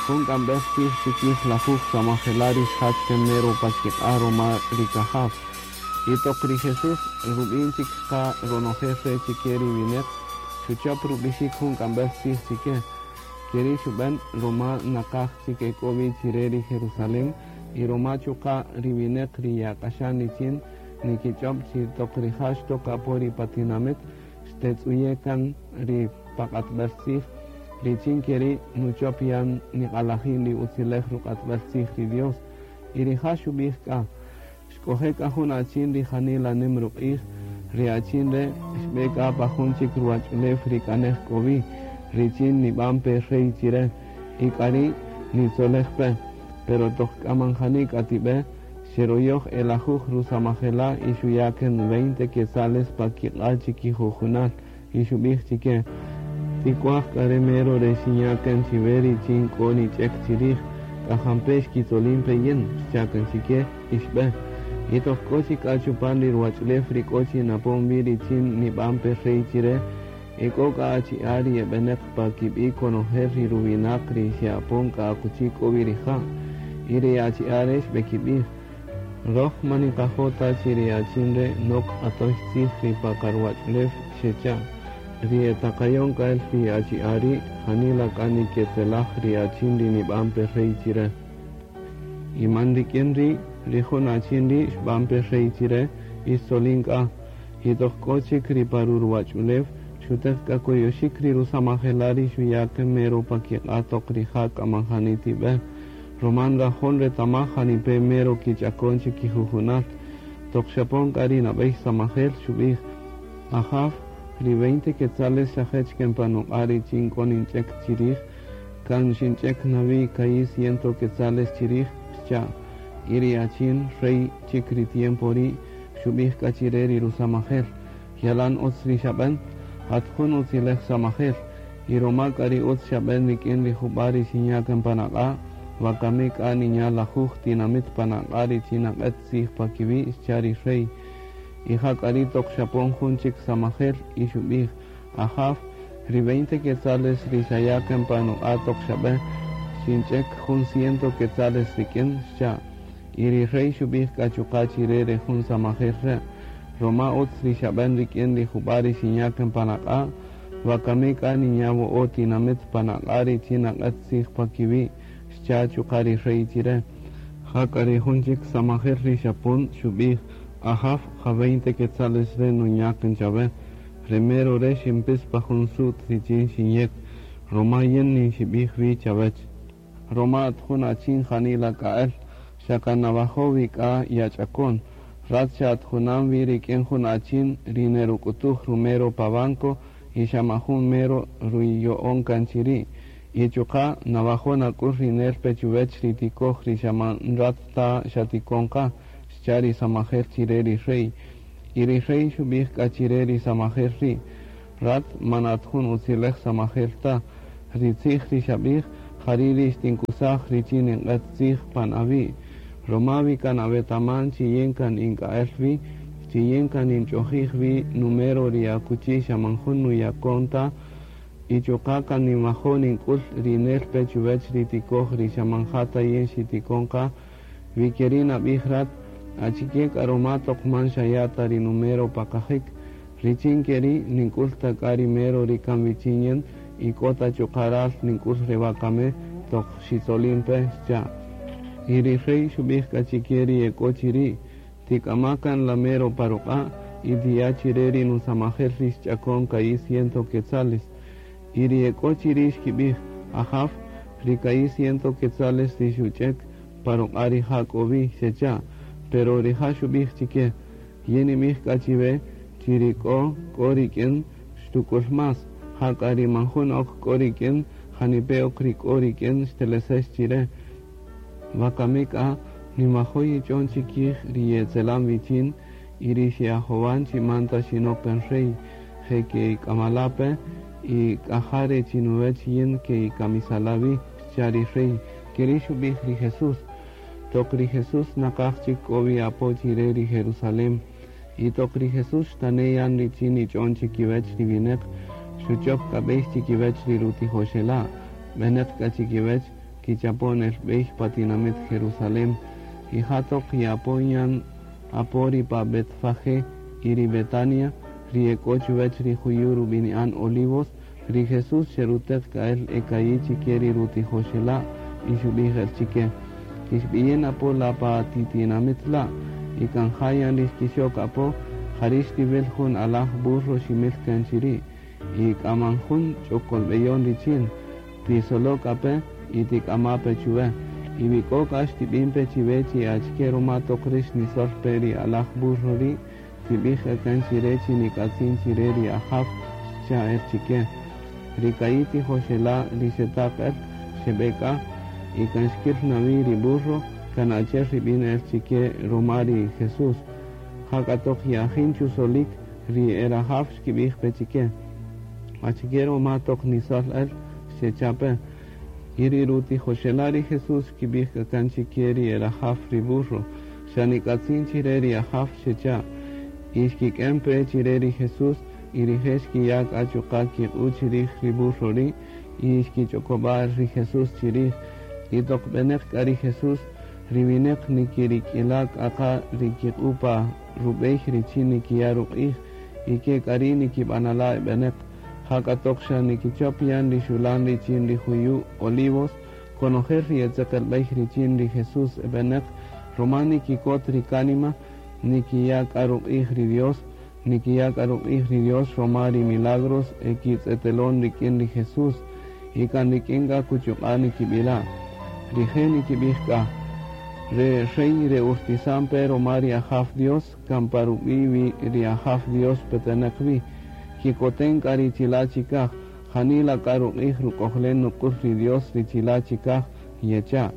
Jun k'amb'ej tzij chikij lajuj samajela' ri xjach kan mero pa kiq'a' ruma ri kajaw. Y toq ri Jesús rub'in chik qa ronojel re' chike ri wineq, xuchop rub'ixik jun k'amb'ej tzij chike. Keri' xub'en ruma naqaj chik ek'o wi chire ri Jerusalén y ruma chuqa' ri wineq ri ye'ak'axan richin nikich'ob' chi toq rija' xtok apo ri pa tinamit xtetz'uye' kan ri pa q'atb'el tzij richin keri' nuchop yan niq'alajin ri utzilej ruq'atb'el tzij ri Dios. Y rija' xub'ij k'a: Xk'oje' k'a jun achin ri janila nim ruq'ij, ri achin re' xb'e k'a pa jun chik ruwach'ulew ri k'a nej k'o wi, richin nib'an pe rey chire, y k'ari' nitzolej pe. Pero toq k'a man jani k'a tib'e, xeroyoj e lajuj rusamajela' y xuya' kan veinte quetzales pa kiq'a' chikijujunal, y xub'ij chike: Tik'uaj k'a re mero re xinya' kan chiwe richin k'o nich'ek chirij, k'a jampe' xkitzolin pe yin, xcha' kan chike, y xb'e. Y toq k'o chik k'a chupan ri ruwach'ulew ri k'o chi napon wi richin nib'an pe rey chire, e k'o k'a achi'a' ri e b'eneq pa kib'i' konojel ri ruwinaq ri xe'apon k'a akuchi k'o wi rija'. Y ri achi'a' re' xb'ekib'ij: Röj man niqajo' ta chi ri achin re' nok q'atöy tzij ri pa qaruwach'ulew, xecha'. Ri e taqayon k'a el ri achi'a' ri' janila k'a niketzelaj ri achin ri nib'an pe rey chire. Y man rik'in ri', ri jun achin ri' xb'an pe rey chire y xtzolin k'a. Y toq k'o chik ri pa ruruwach'ulew, xuteq k'a koyoxik ri rusamajela' ri xuya' kan mero pa kiq'a' toq rija' k'a man jani tib'e. Ruma nrajo' nretamaj janipe' mero kich'akon chi kijujunal. Toq xapon k'a ri nab'ey samajel, xub'ij, Ajaw, ri veinte quetzales xajech kan pa nuq'a' richin k'o ninch'ek chirij, kan xinch'ek na wi ka'i' ciento quetzales chirij, xcha'. Y ri achin, rey chik ri tiempo ri', xub'ij k'a chire ri rusamajel, Yalan utz ri xab'en, at jun utzilej samajel, y roma k'a ri utz xab'en rik'in ri jub'a' ri xinya' kan pan aq'a', wakami k'a ninya' lajuj tinamit pan aq'a' richin naq'et tzij pa kiwi', xcha' ri rey. Y ja k'a ri' toq xapon jun chik samajel y xub'ij, Ajaw, ri veinte quetzales ri xaya' kan pa nuq'a' toq xab'e, xinch'ek jun ciento quetzales rik'in, xcha'. Y ri rey xub'ij k'a chuqa' chire re jun samajel re', Roma utz ri xab'en rik'in ri jub'a' ri xinya' kan pan aq'a', wakami k'a ninya' wo'o' tinamit pan aq'a' richin naq'et tzij pa kiwi', xcha' chuqa' ri rey chire. Jak'a ri jun chik samajel ri xapon, xub'ij, Ajaw, ja veinte quetzales re' nunya' kan chawe. Re mero re' xinpis pa jun su't richin xinyek, roma yin ninxibij wi' chawech. Roma at jun achin janila k'a'el, xa kan nawajo' wi k'a yach'akon. Rat xa at junam wi rik'in jun achin ri neruk'utuj rumero pa banco y xa man jun mero ruyo'on kan chiri'. Y chuqa' nawajo' nak'ul ri nel-pe chuwech ri tikoj ri xa man rat ta xatikon-qa, xcha' ri samajel chire ri rey. Y ri rey xubij k'a chire ri samajel ri', Rat man at jun utzilej samajel ta. Ri tzij ri xabij, jari' ri xtinkusaj richin ninq'et tzij pan awi'. Roma wi kan awetaman chi yin kan in k'a'el wi, chi yin kan ninch'ojij wi numero ri akuchi xa man jun nuyakon ta, y chuqa' kan ninwajo' nink'ul ri nel-pe chuwech ri tikoj ri xa man ja ta yin xitikon-qa, wi keri' nabij rat, achike k'a roma toq man xaya' ta ri numero pa qajik, richin keri' nink'ul ta k'a ri mero ri kan wichin yin y k'o ta chuqa' ral nink'ul re wakami toq xitzolin-pe, xcha'. Y ri rey xubij k'a chike ri ek'o chiri', Tik'ama' kan la mero pa ruq'a' y tiya' chire ri nusamajel ri xch'akon ka'i' ciento quetzales. Y ri ek'o chiri' xkibij, Ajaw, ri ka'i' ciento quetzales ri xuch'ek pa ruq'a' rija' k'o wi, xecha'. Pero rija' xubij chike, Yin ninbij k'a chiwe chi ri k'o, k'o rik'in xtuk'ul más, jak'a ri man jun ok k'o rik'in, janipe' ok ri k'o rik'in xtelesex chire. Wakami k'a, ninwajo' yich'on chikij ri ye'etzelan wichin y ri xe'ajowan chi man ta xinok kan rey, je' ke'ik'amala-pe y k'a ja re chinuwech yin ke'ikamisala-wi, xcha' ri rey. Keri' xubij ri Jesús. Toq ri Jesús naqaj chik k'o wi apo chire ri Jerusalén. Y toq ri Jesús xtane' yan richin nich'on chikiwech ri wineq, xuchop k'a bey chikiwech ri rutijoxela', beneq k'a chikiwech, Kichapon el b'ey pa tinamit Jerusalén. Y ja toq ye'apon yan apo ri pa Betfagé y ri Betania, ri e k'o chuwäch ri juyu' rub'ini'an Olivos, ri Jesús xeruteq k'a el e ka'i' chike ri rutijoxela' y xub'ij el chike: Kixb'iyin apo la pa ti tinamit la', y kan ja yan ri xkixok apo, jari' xtiwil jun alaj burro ximil kan chiri', y k'a man jun ch'okolb'eyon richin. Tisolo' k'a pe y tik'ama' pe chuwe. Y wi k'o k'a xtib'in pe chiwe chi achike ruma toq rix nisol pe ri alaj burro ri', tib'ij k'a kan chire chi nik'atzin chire ri Ajaw, xcha' el chike. Ri ka'i' tijoxela' ri xetaq el, xeb'e k'a, y kan xkil na wi ri burro, kan achi'el ri b'in el chike ruma ri Jesús. Jak'a toq ye'ajin chusolik, ri e rajaw xkib'ij pe chike: Achike ruma toq nisol el? Xecha' pe. Y ri rutijoxela' ri Jesús xkib'ij k'a kan chike ri e rajaw ri burro: Xa nik'atzin chire ri Ajaw, xecha'. Y xkik'en pe chire ri Jesús, y rije' xkiya' k'a chuqa' kiq'u' chirij ri burro ri', y xkich'okob'a' ri Jesús chirij. Y toq b'eneq k'a ri Jesús, ri wineq nikirik'ila' k'a qa ri kiq'u' pa rub'ey richin nikiya' ruq'ij, y ke k'a ri' nikib'anala' e b'eneq. Jak'a toq xa nikichop yan ri xulan richin ri juyu' Olivos, konojel ri e tzeqelb'ey richin ri Jesús e b'eneq, ruma nikikot ri kánima, nikiya' k'a ruq'ij ri Dios, nikiya' k'a ruq'ij ri Dios roma ri milagros e kitz'etelon rik'in ri Jesús, y kan rik'in k'a kuchuq'a' nikib'ila'. Rije' nikib'ij k'a: Re rey re urtisan pe roma ri Ajaw Dios, kan pa rub'i' wi ri Ajaw Dios peteneq wi. Kikoten k'a ri chila' chikaj, janila k'a ruq'ij ruk'ojlen nuk'ul ri Dios ri chila' chikaj, yecha'.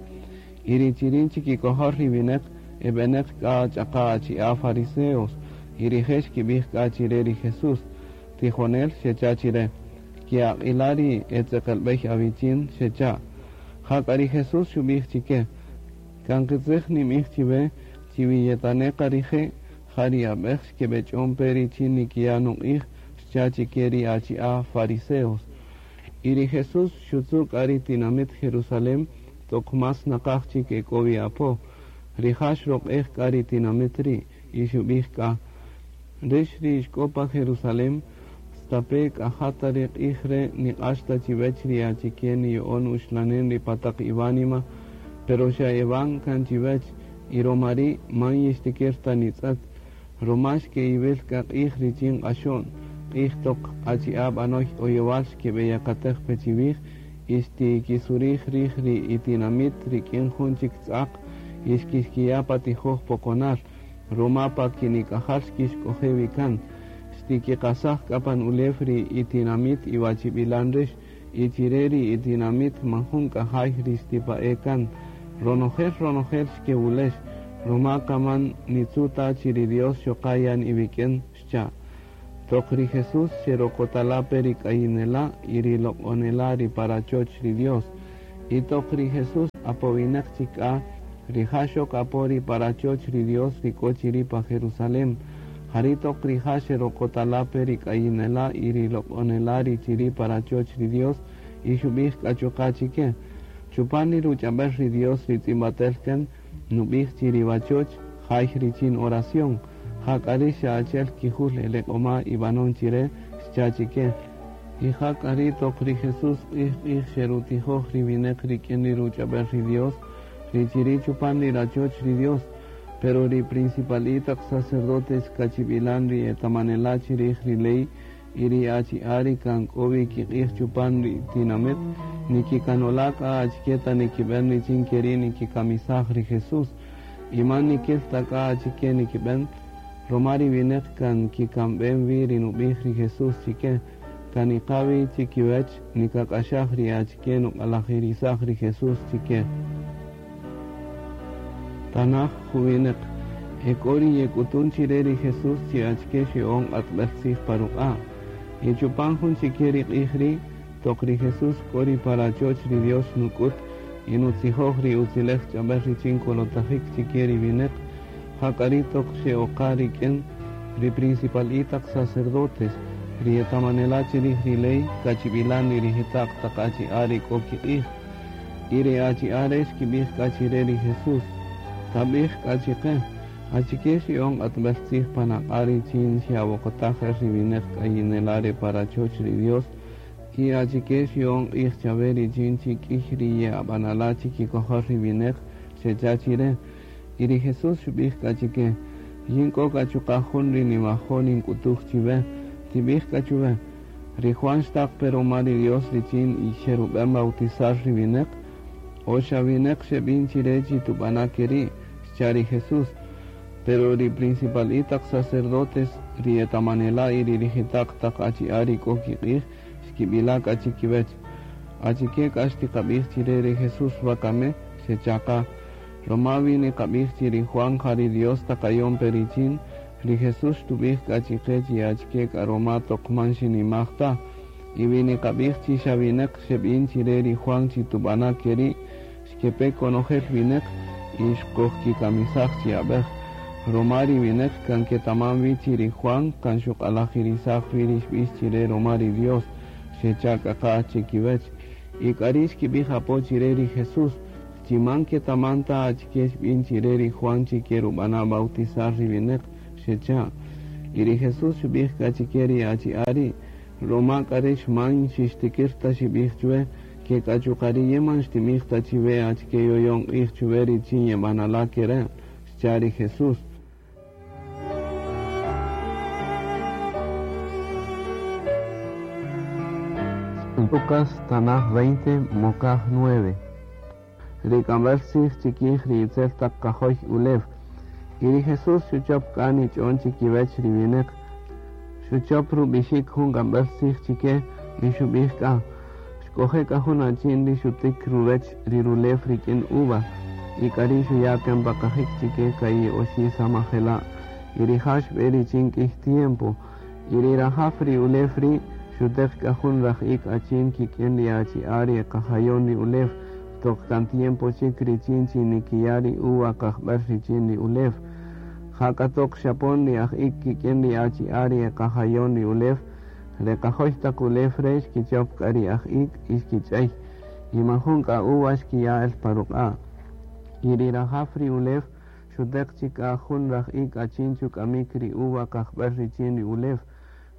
Y ri chirin chikikojol ri wineq e b'eneq k'a ch'aqa' achi'a' fariseos, y rije' xkib'ij k'a chire ri Jesús: Tijonel, xecha' chire, ke'aq'ila' ri e tzeqelb'ey awichin, xecha'. Jak'a ri Jesús xub'ij chike: Kan qitzij ninb'ij chiwe chi wi yetane' qa rije', ja ri ab'ej xkeb'ech'on pe richin nikiya' nuq'ij, xcha' chike ri achi'a' fariseos. Y ri Jesús xutzu' k'a ri tinamit Jerusalén toq más naqaj chik e k'o wi apo. Rija' xroq'ej k'a ri tinamit ri' y xub'ij k'a: Rix ri ixk'o pa Jerusalén, stape' k'a ja ta re q'ij re' niq'ax ta chiwech ri achike niya'on uxlanen ri pa taq iwánima, pero xa ewan kan chiwech, y roma ri' man yixtikir ta nitz'et, roma xke'iwil k'a q'ij richin q'axo'n, q'ij toq achi'a' b'anoy oyowal xkeb'eyakatej pe chiwij y xtikisurij rij ri itinamit rik'in jun chik tz'aq y xkixkiya' pa tijoj poqonal, roma pa kinik'ajal xkixk'oje' wi kan. Xtikiqasaj k'a pan ulew ri itinamit iwachib'ilan rix, y chire ri itinamit man jun k'a jay ri xtipa'e' kan. Ronojel ronojel xkewulex, roma k'a man nitzu' ta chi ri Dios xoqa' yan iwik'in, xcha'. Toq ri Jesús xerokotala' pe ri k'ayinela' y ri loq'onela' ri pa rachoch ri Dios. Y toq ri Jesús apowineq chik k'a, rija' xok apo ri pa rachoch ri Dios ri k'o chiri' pa Jerusalén. Jari' toq rija' xerokotala' pe ri k'ayinela' y ri loq'onela' ri chiri' pa rachoch ri Dios, y xub'ij k'a chuqa' chike: Chupan ri ruch'ab'el ri Dios ri tz'ib'atel kan, nub'ij chi ri wachoch jay richin oración, jak'a rix xa achi'el kijul eleq'oma' ib'anon chire, xcha' chike. Y jak'a ri' toq ri Jesús q'ij-q'ij xerutijoj ri wineq rik'in ri ruch'ab'el ri Dios, ri chiri' chupan ri rachoch ri Dios. Pero ri principal'i' taq sacerdotes kachib'ilan ri etamanela' chirij ri ley y ri achi'a' ri kan k'o wi kiq'ij chupan ri tinamit, nikikanola' k'a achike ta nikib'en richin keri' nikikamisaj ri Jesús. Y man nikil ta k'a achike nikib'en, roma ri wineq kan kikamb'en wi ri nub'ij ri Jesús chike, kan niqa' wi chikiwech nikak'axaj ri achike nuq'alajirisaj ri Jesús chike. Tanaj juwineq e k'o ri yek'utun chire ri Jesús chi achike xya'on q'atb'el tzij pa ruq'a'. Y chupan jun chike ri q'ij ri' toq ri Jesús k'o ri pa rachoch ri Dios nuk'ut y nutzijoj ri utzilej ch'ab'el richin kolotajik chike ri wineq, jak'a ri' toq xe'oqa rik'in ri principal'i taq sacerdotes, ri etamanela' chirij ri ley kachib'ilan ri rijita'q taq achi'a' ri k'o kiq'ij. Y ri achi'a' re' xkib'ij k'a chi re ri Jesús: Tab'ij k'a chi qe, achike xya'on q'atb'äl tzij pan aq'a' richin xe'awoqotaj el ri wineq k'ayinela' re pa rachoch ri Dios, y achike xya'on q'ij chawe richin chi k'iy ri ye'ab'anala' chikikojol ri wineq? Xecha' chi re. Y ri Jesús xub'ij k'a chi ke: Yin k'o k'a chuqa' jun ri niwajo' nink'utuj chiwe, tib'ij k'a chuwe, Ri Juan xtaq pe ruma ri Dios richin xerub'en bautizar ri wineq, o xa wineq xeb'in chi re chi tub'ana' keri'? Xcha' ri Jesús. Pero ri principal'i' taq sacerdotes, ri etamanela' y ri rijita'q taq achi'a' ri k'o kiq'ij, xkib'ila' k'a chikiwech: Achike k'a xtiqab'ij chi re ri Jesús wakami? Xecha' qa. Roma wi niqab'ij chi ri Juan ja ri Dios taqayon pe richin, ri Jesús xtub'ij k'a chiqe chi achike k'a roma toq man xinimaj ta. Y wi niqab'ij chi xa wineq xeb'in chire ri Juan chi tub'ana' keri', xkepe konojel wineq y xqojkikamisaj chi ab'ej. Roma ri wineq kan ketaman wi chi ri Juan kan xuq'alajirisaj wi ri xb'ix chire roma ri Dios, xecha' k'a qa chikiwech. Y k'ari' xkib'ij apo chire ri Jesús, chi man ketaman ta achike xb'in chire ri Juan chi kerub'ana' bautizar ri wineq, xecha'. Y ri Jesús xub'ij k'a chike ri achi'a' ri': Roma k'a rix man xixtikir ta xib'ij chuwe, ke k'a chuqa' ri yin man xtinb'ij ta chiwe achike yoyon q'ij chuwe richin yeb'anala' kere', xcha' ri Jesús. Lucas tanaj 20, mokaj 9. Ri k'amb'äl tzij chikij ri itzel taq qajoy ulew. Y ri Jesús xuchop k'a nich'on chikiwech ri wineq. Xuchop rub'ixik jun k'amb'äl tzij chike y xub'ij k'a: Xk'oje' k'a jun achin ri xutik ruwech ri rulew rik'in uva, y k'ari' xuya' kan pa qajik chike ka'i' oxi' samajela', y rija' xb'e richin k'iy tiempo. Y ri rajaw ri ulew ri' xuteq k'a jun raj-ik achin kik'in ri achi'a' ri e qajayon ri ulew, toq kan tiempo chik richin chi nikiya' ri uva qajb'äl richin ri ulew. Jak'a toq xapon ri aj-ik kik'in ri achi'a' ri e qajayon ri ulew, re qajoy taq ulew re' xkichop k'a ri aj-ik y xkich'ey, y man jun k'a uva xkiya' el pa ruq'a'. Y ri rajaw ri ulew xuteq chik k'a jun raj-ik achin chuk'amik ri uva qajb'äl richin ri ulew,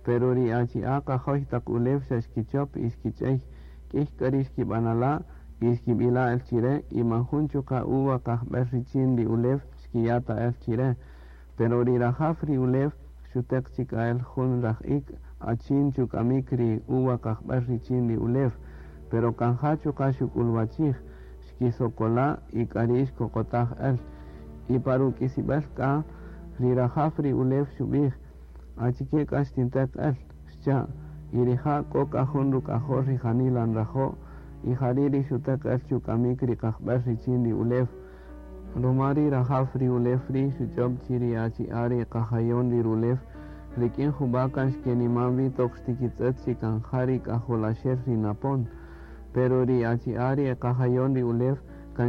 pero ri achi'a' qajoy taq ulew xa xkichop y xkich'ey, k'iy k'a ri xkib'anala' y xkib'ila' el chire, y man jun chuqa' uva qajb'äl richin ri ulew xkiya' ta el chire. Pero ri rajaw ri ulew xuteq chik k'a el jun raj-ik achin chuk'amik ri uva qajb'äl richin ri ulew, pero kan ja chuqa' xuk'ulwachij, xkisokola' y k'ari' xkoqotaj el. Y pa ruk'isib'äl k'a, ri rajaw ri ulew xub'ij: Achike k'a xtinteq el? Xcha'. Y rija' k'o k'a jun ruk'ajol ri janila nrajo', y jari' ri xuteq el chuk'amik ri qajb'äl richin ri ulew. Roma ri rajaw ri ulew ri' xuch'ob chi ri achi'a' ri qajayon ri rulew rik'in jub'a' kan xkeniman wi toq xtikitz'ët chi kan ja ri k'ajolaxel ri napon. Pero ri achi'a' ri e qajayon ri ulew